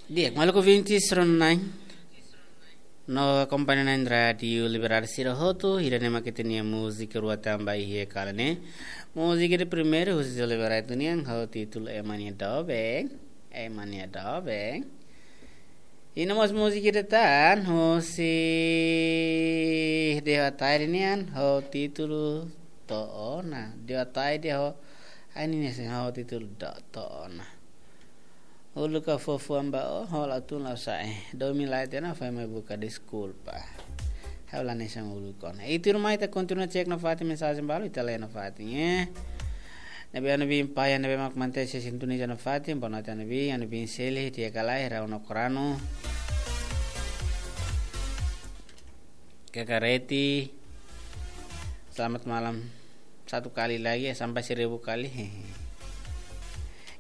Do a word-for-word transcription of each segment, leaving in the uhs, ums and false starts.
Di'ak, maluk ouvintes rona-na'in no akompaña na'in Rádiu Liberdade sira hotu, ida-ne'e mak ita-nia múzika rua tan ba iha kala ne'e. Múzika ida primeiru, husi José Liberato nian, ho títulu Ema nia Doben, Ema nia Doben. I no mós múzika ida tan, husi Deo Ataide nian, ho títulu To'o Ona. Deo Ataide ho, ai ninia sin ho títulu Do-, To'o Ona. Uluk ha'u fó fuan ba ó, ó la tun, la sa'e. Domin la'ós ita-nia, foin mai buka deskulpa. Ha'u la hanesan uluk ona. I tuirmai ita kontinua cek nafatin mensajen balu, ita lee nafatin, eh. Ne'ebé Anubin Paya, ne'ebé mak mantein sintoniza nafatin, boa noite Anubin, Anubin Seli, Tia Kalai, Rau no Korano. Kakareti. Selamat malam. Satu kali lagi, sampai seribu kali.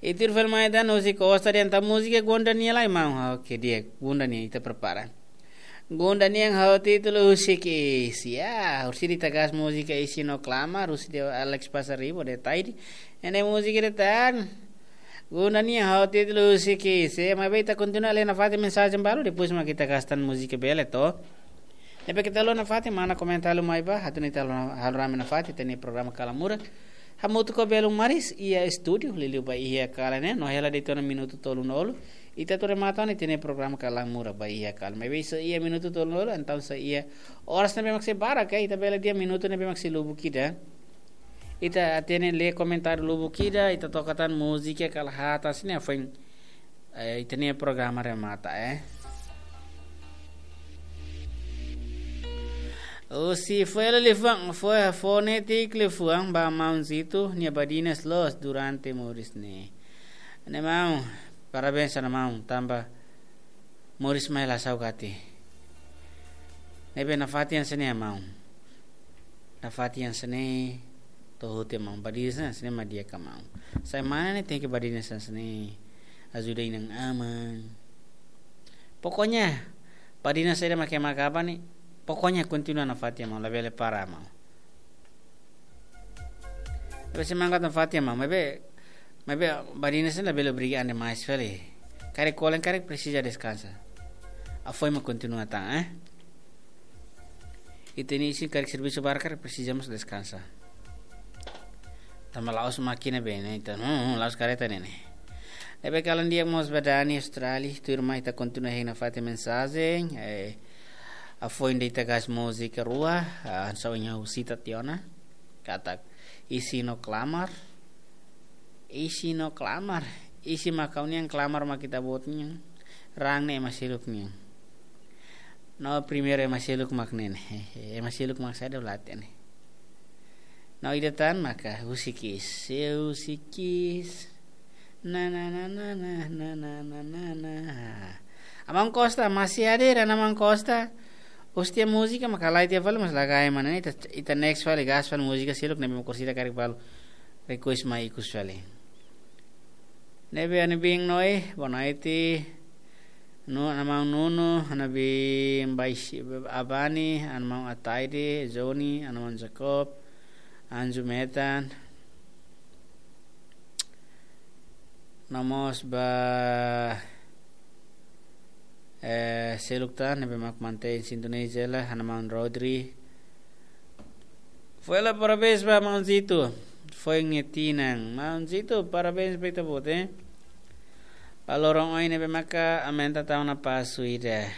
I tuir fali mai tan husi Costa Dian, entaun múzika Gonda nian lai, maun. Oke, di'ak, Gonda nian, ita prepara. Gonda nian ho títulu Husik Iis. Ya, husi ita gas múzika Iis no Klamar, husi Alex Pasaribu, Deo Ataide. Ne'e múzika ida tan. Gonda nian ho títulu Husik Iis. Maibé ita kontinua lee nafatin mensajen balu, depois mak ita gas tan múzika bele to. Ne'ebé keta haluha nafatin, mana komentáriu mai ba, atu nune'e ita halo, halo rame nafatin, ita-nia programa Kala Muda. Hamutuk ho belun maris, iha estúdiu, liuliu ba iha kala ne'e, no hela de'it ona minutu tolunulu. Ita atu remata ona ita-nia programa Kala Muda ba iha kala. Maibé sei iha minutu tolunulu, entaun sei iha oras ne'ebé mak sei barak, eh, ita bele dehan minutu ne'ebé mak sei lubuk ida. Ita hatene, lee komentáriu lubuk ida, ita toka tan múzika kala haat hanesan ne'e foin, eh, ita-nia programa remata, eh. Husi Foela liafuan, Fo-, Fonetik liafuan ba maun Zito, nia badinas loos durante moris ne'e. Ne'e maun, parabéns ona maun, tanba moris mai la saugati. Ne'ebé nafatin hanesan ne'e maun. Nafatin hanesan ne'e to'o hotu maun, badinas hanesan ne'e mak di'ak ka maun. Sai mane ne'e tenke badinas hanesan ne'e. Ajuda inan-aman. Pokoknya, badinas saida mak ema kaba ne'e, pokoknya kontinua nafatin maun, labele para maun. Tapi se mangkat nafatin maun, maibé, maibé badinas ne'e labele obriga an demais fali. Karik kolen, karik presiza deskansa. Afoin mak kontinua tan, eh. Ita-nia isin karik servisu barak, karik presiza mós deskansa. Tanba la'ós mákina be ne'e, ita, hmm, hmm, la'ós kareta ne'e ne'e. Ne'ebé kalan di'ak mós ba Dani Australia, tuirmai ita kontinua hein nafatin mensajen, eh, afoin de'it ita gas múzika rua, ah, hanesan ohin ha'u sita tiha ona, katak Iis no Klamar, Iis no Klamar, Iis mak ha'u-nian, Klamar mak ita-boot nian, raan ne'e ema seluk nian. No primeiru ema seluk mak ne'e ne'e. Ema seluk mak saida, la hatene. No ida tan maka Husik Iis. Se Husik Iis. Na, na, na. Aman Costa, masih hadir, Aman Costa. Husi ita-nia múzika, maka lai tiha fali, mas lagai mana. Ita, ita next fali, gas fali múzika seluk, ne'ebé mak orsida karik balu request mai ikus fali. Ne'ebé Anubin Noi, boa noite. No, Aman Nuno, Anubin Baisi, Abani, Aman Ataide, Johnny, Aman Jacob, Anju Metan. No mós ba, eh, seluk tan, ne'ebé mak mantein sintoniza hela, Aman Rodri. Foela, parabéns ba maun Zito. Foin nia tinan. Maun Zito, parabéns ba ita-boot, eh. Ba loron oin ne'ebé maka aumenta tan ona pasu ida.